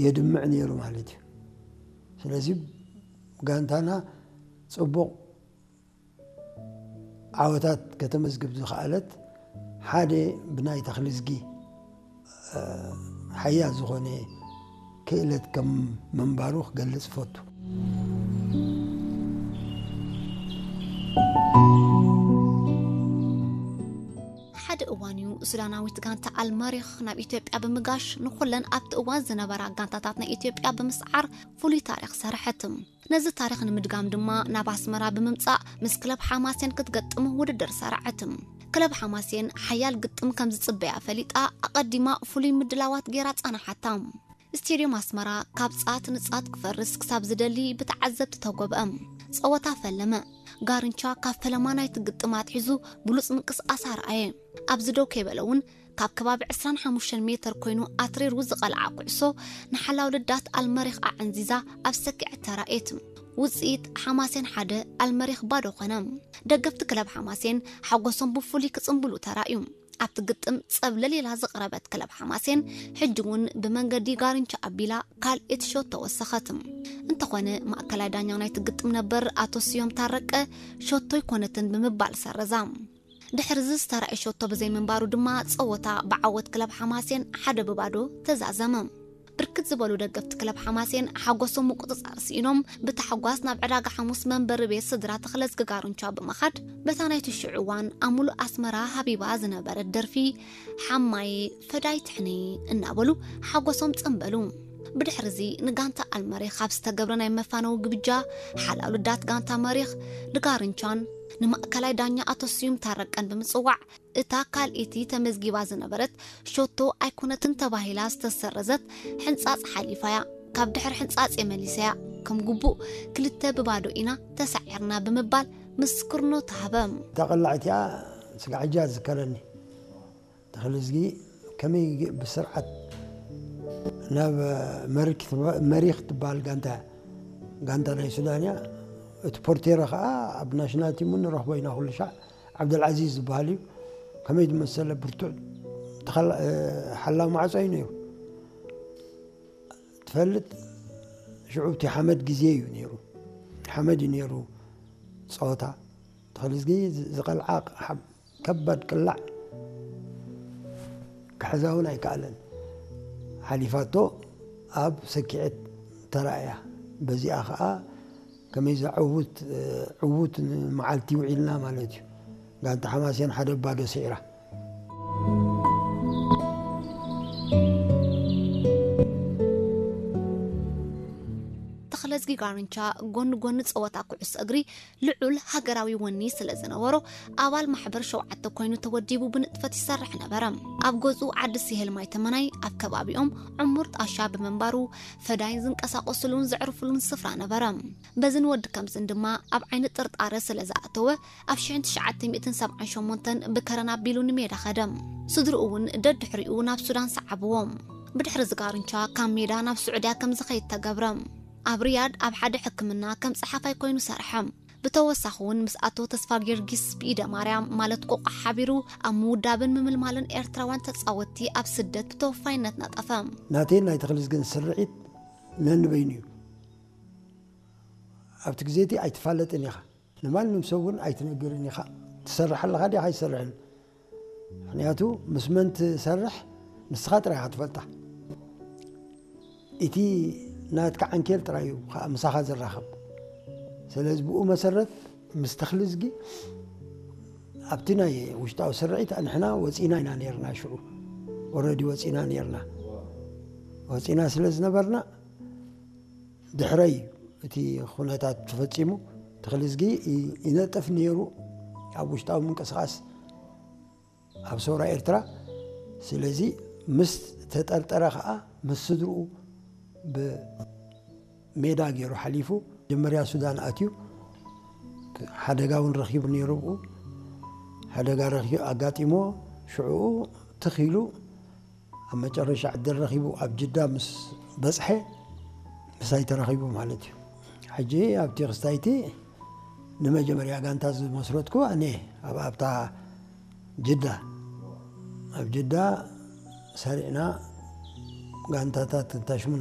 የድምዕ ነይሩ ማለት እዩ። ስለዚ ጋንታና ጽቡቕ ዓወታት ከተመዝግብ ዝኸኣለት ሓደ ብናይ ተኽልዝጊ ሓያል ዝኾነ ክእለት ከም ምንባሩ ክገልጽ እፈቱ። ሓደ እዋን እዩ ሱዳናዊት ጋንታ ኣልመሪኽ ናብ ኢትዮጵያ ብምጋሽ ንኹለን ኣብቲ እዋን ዝነበራ ጋንታታት ናይ ኢትዮጵያ ብምስዓር ፍሉይ ታሪኽ ሰረሐት። ነዚ ታሪኽ ንምድጋም ድማ ናብ ኣስመራ ብምምጻእ ምስ ክለብ ሓማሴን ክትገጥም ውድድር ሰራዐት። ክለብ ሓማሴን ሓያል ግጥም ከም ዝጽበያ ፈሊጣ ኣቐዲማ ፍሉይ ምድላዋት ገይራ ጸናሓታ። ስቴድዮም ኣስመራ ካብ ጻት ንጻት ክፈርስ ክሳብ ዝደሊ ብተዓዘብቲ ተጎብአ። ጸወታ ፈለመ። ጋርንቻ ካብ ፈለማ ናይቲ ግጥም ኣትሒዙ ብሉጽ ምንቅስቃስ ኣርኣየ። ኣብዚ ደው ከይበለ እውን ካብ ከባቢ ዕስራን ሓሙሽተን ሜተር ኮይኑ ኣትሪሩ ዝቐልዓ ኩዕሶ ንሓላው ልዳት ኣልመሪኽ ኣዕንዚዛ ኣብ ሰኪዐት ተራእየት። ውጽኢት ሓማሴን ሓደ ኣልመሪኽ ባዶ ኮነ። ደገፍቲ ክለብ ሓማሴን ሓጎሶም ብፍሉይ ክጽንብሉ ተራእዩ። ኣብቲ ግጥም ጸብለል ኢላ ዝቕረበት ክለብ ሓማሴን ሕጂ እውን ብመንገዲ ጋርንቻ ኣቢላ ካልእ ሸቶ ወሰኸት። እንተኾነ ማእከላይ ዳኛ ናይቲ ግጥም ነበር ኣቶ ስዮም ታረቀ ሸቶ ኣይኮነትን ብምባል ሰረዛ። ድሕሪ እዚ ዝተራእየ ሸቶ ብዘይምንባሩ ድማ ጸወታ ብዓወት ክለብ ሓማሴን ሓደ ብባዶ ተዛዘመ። ብርክት ዝበሉ ደገፍቲ ክለብ ሓማሴን ሓጎሶም ምቁጽጻር ስኢኖም ብታሕጓስ ናብ ዕዳጋ ሓሙስ መንበሪ ቤት ስድራ ተኽለዝጊ ጋርንቻ ብምኻድ በታ ናይቲ ሽዑ እዋን ኣብ ሙሉእ ኣስመራ ሃቢባ ዝነበረት ደርፊ ሓማየ ፈዳይ ትሕነይ እናበሉ ሓጎሶም ጸንበሉ። ብድሕሪ እዚ ንጋንታ ኣልመሪኽ ኣብ ዝተገብረ ናይ መፋነዊ ግብጃ ሓላው ልዳት ጋንታ መሪኽ ንጋርንቻን ንማእከላይ ዳኛ ኣቶ ስዩም ታረቀን ብምጽዋዕ እታ ካልኣይቲ ተመዝጊባ ዝነበረት ሸቶ ኣይኮነትን ተባሂላ ዝተሰረዘት ሕንጻጽ ሓሊፋያ። ካብ ድሕሪ ሕንጻጽ የመሊሰያ ከም ግቡእ ክልተ ብባዶ ኢና ተሳዒርና ብምባል ምስክርኖ ተሃበ። እታ ቀላዕ እቲኣ ስጋዕ ሕጂ ዝከረኒ ተኽልዝጊ ከመይ ብስርዓት ናብ መሪክ መሪኽ ትበሃል ጋንታ ጋንታ ናይ ሱዳን እያ። እቲ ፖርቴሮ ከዓ ኣብ ናሽናል ቲም እውን ንረኽቦ ኢና ኩሉ ሻዕ። ዓብደልዓዚዝ ዝበሃል እዩ። ከመይ ዝመሰለ ብርቱዕ ተኸላ- ሓላው ማዕጾ እዩ ነይሩ። ትፈልጥ ሽዑ እቲ ሓመድ ግዜ እዩ ነይሩ። ሓመድ እዩ ነይሩ ጸወታ ተኽልዝጊ ዝቐልዓ ከባድ ቅላዕ ክሕዛ እውን ኣይከኣለን። ሓሊፋቶ ኣብ ሰኪዐት ተራእያ። በዚኣ ከዓ ከመይ ዝዕውት ዕውት መዓልቲ ውዒልና ማለት እዩ። ጋንታ ሓማሴን ሓደ ባዶ ስዒራ። ተኽለዝጊ ጋርንቻ ጎኒ ጎኒ ጸወታ ኩዕሶ እግሪ ልዑል ሃገራዊ ወኒ ስለ ዝነበሮ ኣባል ማሕበር ሸውዓተ ኮይኑ ተወዲቡ ብንጥፈት ይሰርሕ ነበረ። ኣብ ገዝኡ ዓዲ ስሄል ማይ ተመናይ ኣብ ከባቢኦም ዕሙር ጣሻ ብምንባሩ ፈዳይን ዝንቀሳቐስሉን ዘዕርፍሉን ስፍራ ነበረ። በዝን ወዲ ከምዝን ድማ ኣብ ዓይኒ ጥርጣረ ስለ ዝኣተወ ኣብ ሽሕን ትሽዓተ ሚእትን ሰብዓን ሸሞንተን ብከረን ኣቢሉ ንሜዳ ኸደ። ስድርኡ እውን ደድሕሪኡ ናብ ሱዳን ሰዓብዎም። ብድሕሪ ዝጋርንቻ ካብ ሜዳ ናብ ስዑድያ ከም ዝኸይድ ተገብረ። ኣብ ሪያድ ኣብ ሓደ ሕክምና ከም ጸሓፋይ ኮይኑ ሰርሐ። ብተወሳኺ እውን ምስ ኣቶ ተስፋ ጊዮርጊስ ብኢደ ማርያም ማለት ቆቋ ሓቢሩ ኣብ ምውዳብን ምምልማልን ኤርትራውያን ተጻወትቲ ኣብ ስደት ብተወፋይነት ነጠፈ። ናተይን ናይ ተኽልዝግን ስርዒት ነንበይኑ እዩ። ኣብቲ ግዜ እቲ ኣይትፋለጥን ኢኻ። ንማንም ሰብ እውን ኣይትነግርን ኢኻ። ትሰርሕ ኣለኻ ዲኻ ኣይሰርሕን? ምኽንያቱ ምስ መን ትሰርሕ ንስኻ ጥራይ ኢኻ ትፈልጣ። እቲ ናትካ ዓንኬል ጥራይ እዩ ከዓ ምሳኻ ዝራኸብ። ስለዚ ብኡ መሰረት ምስ ተኽልዝጊ ኣብቲ ናይ ውሽጣዊ ስርዒት ንሕና ወፂና ኢና ነርና። ሽዑ ኦረዲ ወፂና ነርና። ወፂና ስለ ዝነበርና ድሕረይ እቲ ኩነታት ተፈፂሙ ተኽልዝጊ ይነጥፍ ነይሩ ኣብ ውሽጣዊ ምንቅስቃስ ኣብ ሰውራ ኤርትራ። ስለዚ ምስ ተጠርጠረ ከዓ ምስ ስድርኡ ብሜዳ ገይሩ ሓሊፉ መጀመርያ ሱዳን ኣትዩ። ሓደጋ እውን ረኪቡ ነይሩ። ብኡ ሓደጋ ረኪቡ ኣጋጢሞ ሽዕኡ ትኽ ኢሉ ኣብ መጨረሻ ዕድል ረኺቡ ኣብ ጅዳ ምስ በጽሐ ምሳይ ተራኺቡ ማለት እዩ። ሕጂ ኣብቲ ክስታይቲ ንመጀመርያ ጋንታ ዝመስረትኩ ኣነ ኣብ ኣብታ ጅዳ ኣብ ጅዳ ሰሪዕና ጋንታታት እንታሽሙ